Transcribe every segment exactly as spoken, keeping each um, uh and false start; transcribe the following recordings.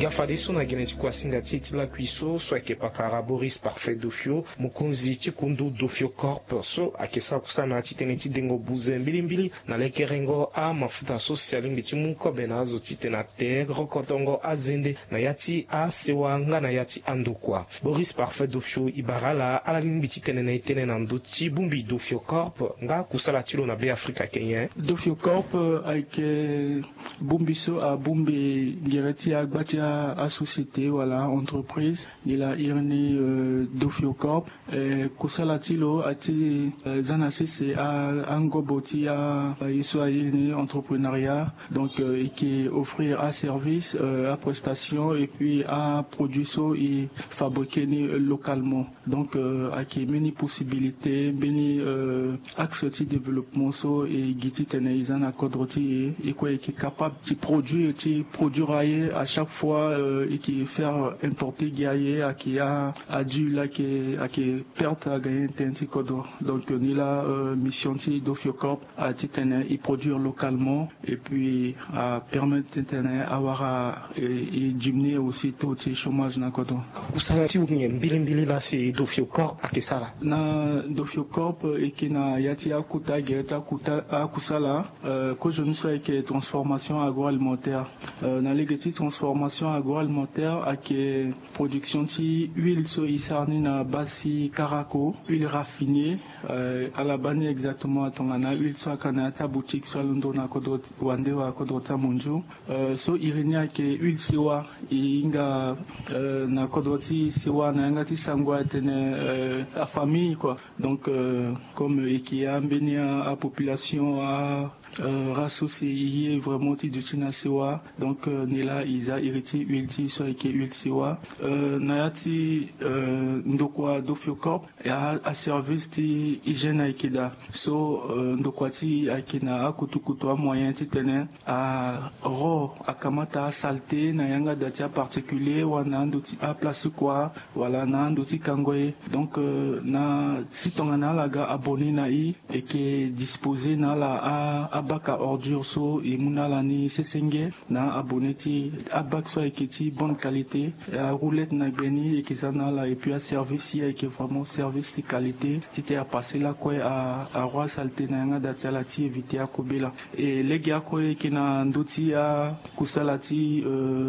Ya fadeso na gene ti kuasinga ti e ti lakui so so ayeke pakara Boris Parfait Dofio, mokonzi ti kundu Dofio Corp so ayeke sara kusana titene ti dengo buze mbilimbili na lekerengo amafuta so si alingbi ti mu kobe na azo titene ate rokotongo azende na ya ti asewa nga na ya ti andokua. Boris Parfait Dofio e bara ala ala lingbi titene na e tene na ndö ti bongbi Dofio Corp nga kusala ti lo na Be Afrika kenyen. Dofio Corp ayeke bongbi so abongbi gere ti agba ti asociété wala entreprise. Nilaa iri ni Dofio Corp, kusala ti lo ati za na sese angobo ti aye so aye ni entreprenariat. Donc e ke offrir aservice, aprestation et puis aproduit so e fabriquer ni localement. Donc ayeke mbeni possibilité, mbeni axe ti développement so e gi titene e za na kodro ti e. E kue e ke capable ti produire ti produire aye à chaque fois. E ke faire importer gi aye ayeke a adule ayeke ayeke perte agagner tënë ti kodro. Donc nilaa mission ti Dofio Corp a titene e produire localement et puis a permettre titene awara e diminuer aussi taux ti chômage na kodro. Kusala ti nyen mbilimbili laa si Dofio Corp ayeke sara? Na Dofio Corp e ke na ya ti akuta gere ti akuta akusala. Kozoni so ayeke transformation agroalimentaire. Na lege ti transformation agroalimentaire ayeke production ti huile so e sara ni na base ti karako, huile raffinée. Ala baa ni exactement atongana huile so aka na ya ti aboutique so alondo na kodro wande wala kodro ti amondio. So iri ni ayeke huile sewa. E hinga na kodro ti sewa na yanga ti sango atene afamille kua. Donc comme e ke ya mbeni apopulation a race so si e ye vraiment ti duti na sewa. Donc nilaa e za iri ti huile ti e so ayeke huile sewa. Na ya ti ndokua Dofio Corp, aservice ti hygiène ayeke daa. So ndokua ti e ayeke na akutukutu amoyen titene aro akamata asalté na yanga daa ti aparticulier wala na ando ti aplace ti kua wala na ando ti kango ye. Donc na si tongana ala ga abonné na e, e ke disposer na ala abak a ordure so e mu na ala ni sesenge. Na abonné ti abak so ayeke ti bonne qualité, aroulette na gbe ni e ke za na ala et puis aservice si ayeke vraiment service ti qualité titene apasser lakue aro asalté na yanga daa ti ala ti éviter akobela. E lege akue e ke na ndö ti akusala ti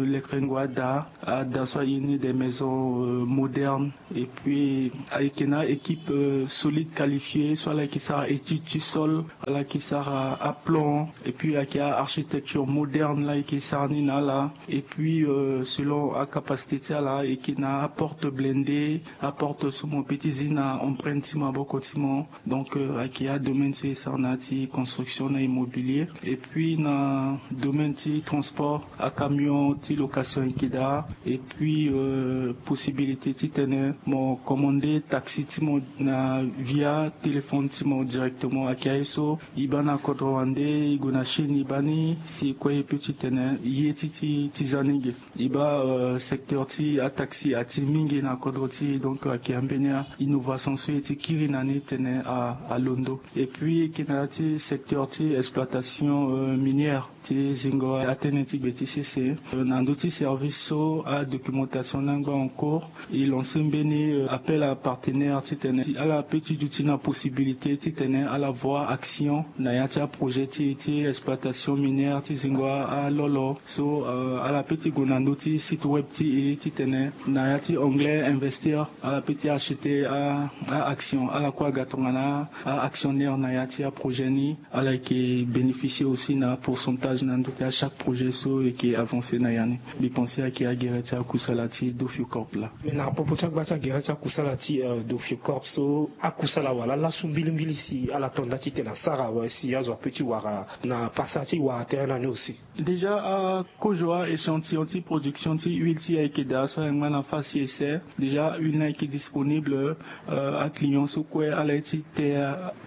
lekerengo ada. Ada so aye ni des maisons modernes. Et puis ayeke na équipe solide qualifiée so ala yeke sara étude ti sol, ala yeke sara aplan et puis ayeke architecture moderne la ayeke sara ni na ala. Et puis selon acapacité ti ala ayeke na aporte blindé, aporte so mo pe ti zi na empreinte ti maboko ti mo. Donc ayeke adomaine so e sara na ya ti construction na immobilier et puis na domaine ti transport, acamion ti location ayeke daa. Et puis possibilité titene mo commander taxi ti mo na via téléphone ti mo directement. Ayeke aye so e baa na kodro wande, e gue na Chine e baa ni si e kue e pe titene e ye ti ti ti za ni ge. E baa secteur ti ataxi ati mingi na kodro ti e. Donc ayeke ambeni a-innovation so e ti kiri na ni tene alondo. Et puis e ke na ya ti secteur ti exploitation minière ti zingo atënë ti gbe ti sese. Na ndö ti service so adocumentation ni angba en cours. E lancer mbeni appel à partenaire titene ala pe ti duti na possibilité titene ala voir action na ya ti aprojet ti e ti exploitation minière ti zingo alolo. So ala pe ti gue na ndö ti site web ti e titene na ya ti anglais investir, ala pe ti acheter a-action. Ala kue aga tongana a-actionnaire na ya ti aprojet ni. Ala yeke bénéficier aussi na pourcentage na ndö ti achaque projet so e yeke avancer na ya ni. Mbi pense ayeke agere ti akusala ti Dofio Corp la. Mais na popo ti agba ti agere ti akusala ti Dofio Corp so akusala wala laso mbilimbili si ala to nda titene asara awe si azo ape ti wara na pasa ti wara tere na ni aussi. Déjà akozo a-échantillon ti production ti huile ti e ayeke daa so ayeke ngba na phase essai. Déjà huile ni ayeke disponible. Aclient so kue ala ye ti te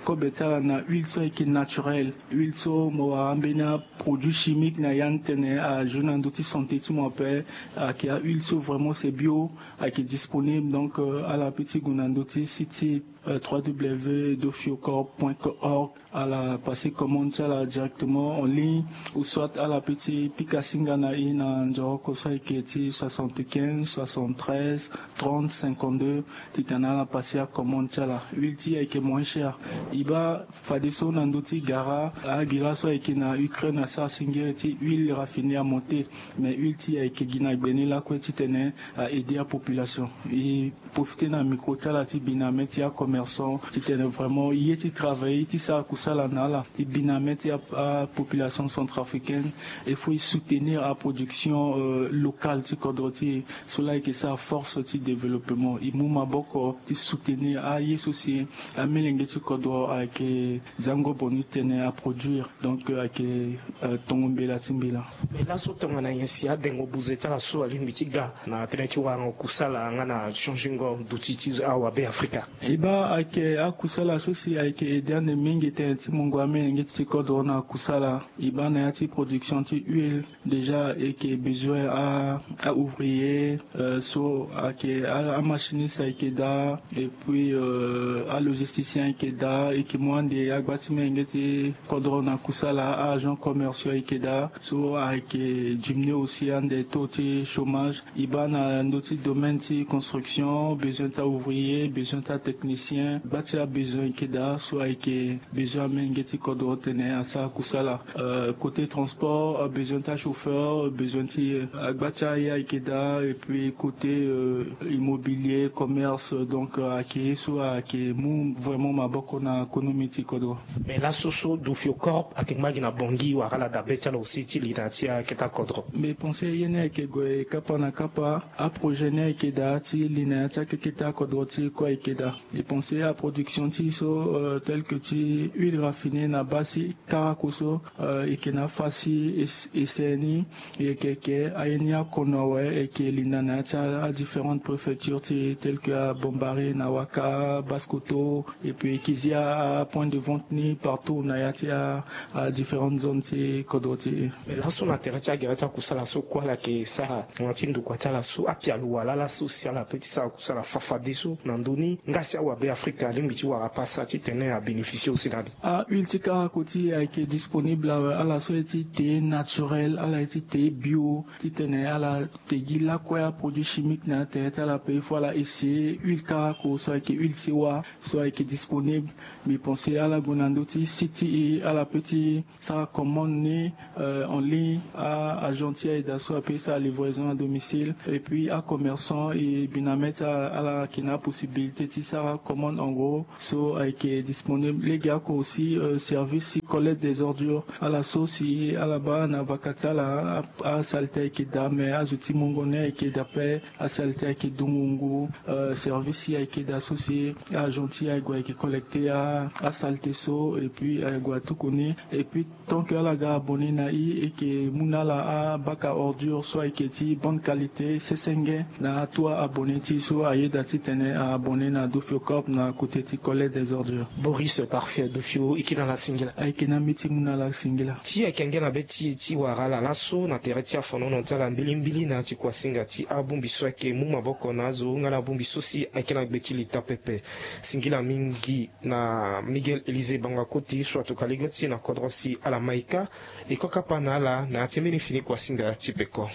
kobe ti ala na huile so ayeke naturel. Huile so mo wara ambeni aproduit chimique na ya ni tënë. Ajour na ndö ti santé ti mo ape. Ayeke ahuile so vraiment c'est bio, ayeke disponible. Donc ala pe ti gue na ndö ti site www dofiocorp point org. Ala passer commande ti ala directement en ligne, ou soit ala pe ti pika singa na e na nzoroko so ayeke ti soixante-quinze soixante-treize trente cinquante-deux. Titene ala passer acommande ti ala. Huile ti e ayeke moins cher. E baa fadeso na ndö ti gara, agira so ayeke na Ukraine asara singiri ti huile raffinée à monter. Mais huile ti e ayeke gi na gbe ni lakue titene a aider apopulation. E profiter na micro ti ala ti bi na mê ti acommerçant titene vraiment ye ti travailler ti sara kusala na ala ti bi na mê ti apopulation centrafricaine. Il faut e soutenir aproduction locale ti kodro ti e. So laa ayeke sara force ti développement. E mu maboko ti soutenir aye so si amelenge ti kodro ayeke zango boni titene aproduire. Donc ayeke tongo mbela ti mbela. Mais laso tongana nyen si adengo buze ti ala so alingbi ti ga na tënë ti warango kusala nga na changingo duti ti awabe afrika? E baa ayeke akusala so si ayeke aide ande mingi tënë ti mungo amelenge ti kodro na kusala. E baa na ya ti production ti huile, déjà ayeke besoin a ouvrier so ayeke amachiniste ayeke daa. Et puis alogisticien ayeke daa. Ayeke mu ande agba ti menge ti kodro na kusala, aagents commerciaux ayeke daa. So ayeke diminuer aussi ande taux ti chômage. E baa na ndö ti domaine ti construction, besoin ti aouvrier, besoin ti atechnicien, gba ti abesoin ayeke daa. So ayeke besoin amenge ti kodro titene asara kusala. Côté transport, besoin ti achauffeur, besoin ti agba ti aye ayeke daa. Et puis côté immobilier, commerce, donc ayeke ye so ayeke mu vraiment maboko na économie ti kodro. Mais laso so dofiocorp ayeke ngba gi na bongi wala ala dabe ti ala aussi ti li na ya ti akete akodro? Mais pense ye ni ayeke gue kapa na kapa. Aprojet ni ayeke daa ti li na ya ti akete akodro ti e kue ayeke daa. E pense aproduction ti e so tel que ti huile raffinée na base ti karako so, e yeke na afa si e sere ni. E yeke yeke aye ni akono awe, e yeke linda na ya ti adifférentes préfectures ti e tel que abombari na waka, basse koto. Et puis e yeke zi apoint de vente ni partout na ya ti adifférentes zones ti kodro ti e. Mais laso na tere ti agere ti akusala so kue ala yeke sara na ti ndokua ti ala so apialo wala ala so si ala pe ti sara kusala fafadeso na ndö ni nga si awabe afrika alingbi ti wara pasa titene abénéficier aussi na ni? Ahuile ti karako ti e ayeke disponible awe. Ala so aye ti te naturel, ala ye ti te bio titene ala te gi lakue aproduit chimique na atere ti ala pe. Il faut ala essayer huile karako so ayeke huile sewa so ayeke disponible. Mais pense ala gue na ndö ti site ti e, ala pe ti sara commande ni en ligne. Aagent ti aida so ape ti sara livraison à domicile. Et puis acommerçant e bi na mê ti ala, ala yeke na apossibilité ti sara commande en gros so ayeke disponible. Lege oko aussi service ti collecte des ordures. Ala so si ala baa na vaka ti ala, asalite ayeke daa, mais azo ti mungo ni ayeke daa ape. Asalite ayeke dungu ngu. Service ti e ayeke daa so si aagent ti e aye gue ayeke collecter asalite so et puis aye gue atuku ni. Et puis tant que ala ga abonné na e, e yeke mu na ala abaka ordure so ayeke ti bonne qualité sesenge na ato abonné ti e so ayeda titene abonné na dofiocorp na côté ti collecte des ordures. Boris Parfait, dofio, e yeke na ala singila. Ayeke na mbi ti mu na ala singila. Ti ayeke angia na be ti e ti wara ala laso na tere ti afonono ti ala mbilimbili na ya ti kuasinga ti abongbi so ayeke mu maboko na azo nga na abongbi so si ayeke na gbe ti lita pepe. Singila mingi na Miguel Élisée Bangakoti so atuka lege ti e na kodro si ala maïka. E ko kapa na ala na ya ti mbeni fini kuasinga ti peko.